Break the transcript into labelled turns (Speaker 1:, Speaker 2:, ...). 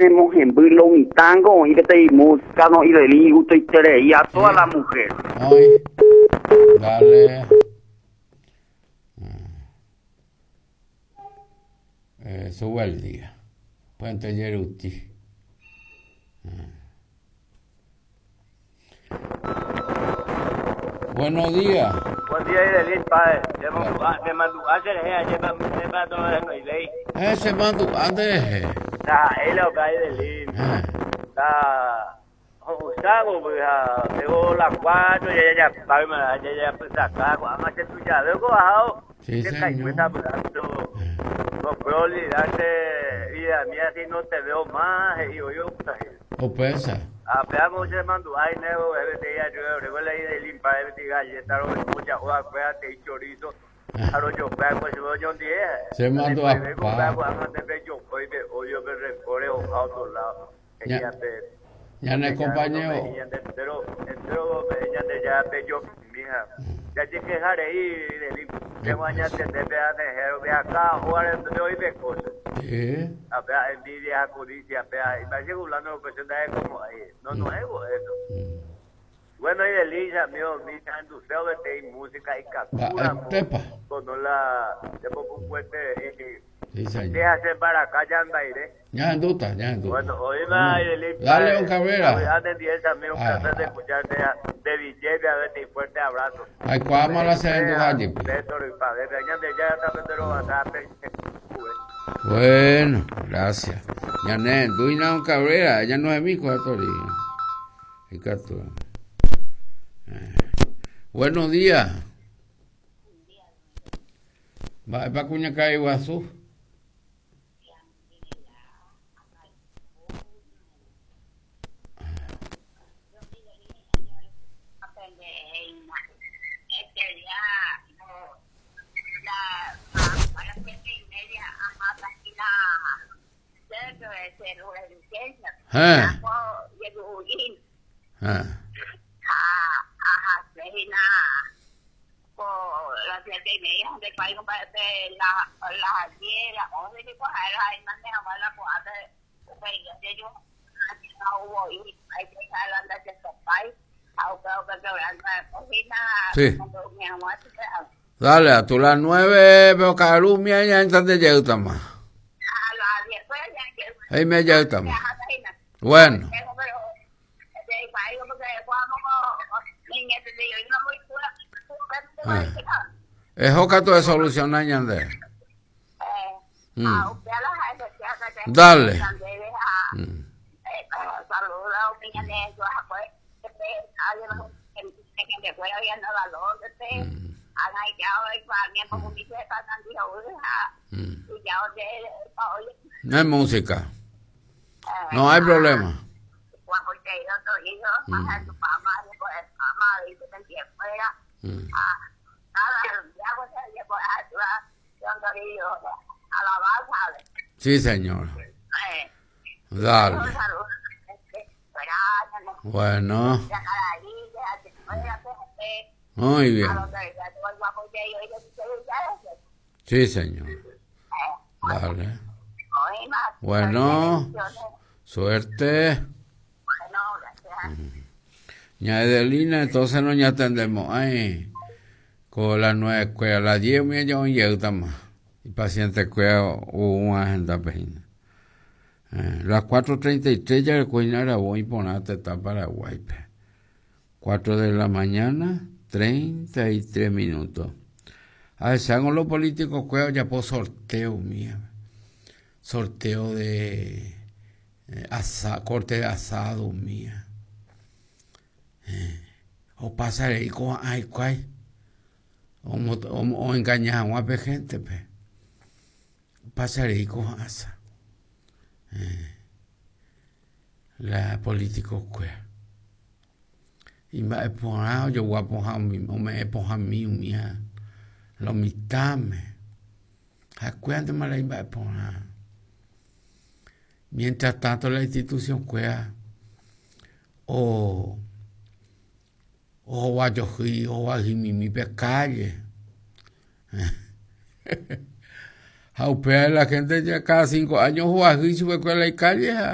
Speaker 1: Remohemby lo mitãngo oĩ peteĩ música no ideli gustoiterei a toda la mujer.
Speaker 2: Oĩ. Dale. Eh, sube el día. Puente Yeruti. Buenos días.
Speaker 3: Buen día, Idelín, padre. Te mandu'a che rehe, ajépa ndépa norohenoivéi.
Speaker 2: Eh, che mandu'a nde rehe.
Speaker 3: Ndaha'éi la upéva, Idelín.
Speaker 2: Eh.
Speaker 3: La ho'usãvo ha pévo la cuatro ja jajapáma, jajapysaka, ko'ág̃a che tujave ko ahávo.
Speaker 2: Sí,
Speaker 3: Che
Speaker 2: señor.
Speaker 3: kaigue sapy'a, pero no puedo olvidar che vida mía si no te veo más, he'i voi opurahéi.
Speaker 2: Upéicha.
Speaker 3: Ha péva che mandu'a inévo peteĩ ajúda oréva la idelín pae peteĩ galleta ro'y'u ja'u va'ekue ha te'i chorizo ha rojope va'ekue chupe oñondive.
Speaker 2: Che mandu'a
Speaker 3: Ndaiporivéi ko upéva ko'ág̃a nde pejopói pe odio pe rencor rehoha otro lado. He'i ape
Speaker 2: Ñane compañero.
Speaker 3: Ñande entero entero pe'e Ñandejára pejopymi ha jajekeha rei idelín. Che añatende pe anehéro pe akã ógare nde oĩ pe kóche.
Speaker 2: Sí.
Speaker 3: Ha péa envidia ha codicia péa imba'éicha fulano upe che ndahekomo'ãi. No, no es eso. Bueno, y delicia, amigo, mi ahenduse peteĩ música ikatúramo
Speaker 2: Mba'etépa.
Speaker 3: kono la chepopukuete
Speaker 2: Sí, señor.
Speaker 3: che ha che mbaraka jambaire.
Speaker 2: Ñahendúta, ñahendúta.
Speaker 3: Bueno, oĩma Idelín,
Speaker 2: Dale, don Cabrera.
Speaker 3: Avy'a nendive, amigo, un
Speaker 2: Ah.
Speaker 3: placer de escucharte de Villete, a ver, fuerte abrazo.
Speaker 2: Aikuaáma la che renduha jepi. Bueno, gracias. Ñane renduina don Cabrera, ella no es mi cuarto Ikatu. Eh. Buenos días. Mba'épa kuñakarai guasu? Héẽ. Héẽ. Sí. Dale, a tu las 9, pero ka'arúmi ñaentante jeýtama. He'ime jeýtama. Bueno. Ah. Eho katu esoluciona ñande. Mm. Dale. Mm. Mm. No hay música. No hay problema. Mm. Mm. Sí, señor. Dale. Bueno. Muy bien. Sí, señor. Dale. Bueno. Suerte. Ña Edelina, entonces no ñatendemos. Ay, con las 9 escuela, las 10 mía ya un yeutama. Y paciente escuela hubo una agenda pejina. Las 4:33 ya el coño era voy por está Paraguay. 4 de la mañana, 33 minutos. A ver, sean los políticos cueva ya por sorteo mía. Sorteo de asa, corte de asado mía. O pasaré y con ay cuay. O, o, o engañar a una gente pe. Pasaré y con asa. La político cueva. Imba'eporã ojogua pohã ome'ẽ pohãmi umíva lo mitãme. Ha'ekuérantema la imba'eporã. Mientras tanto la institución kuéra o ohovajohýi ohovayhymimi pe calle. Ha upéva la gente ya cada 5 años ohovayhýi chupekuéra la icalle ha.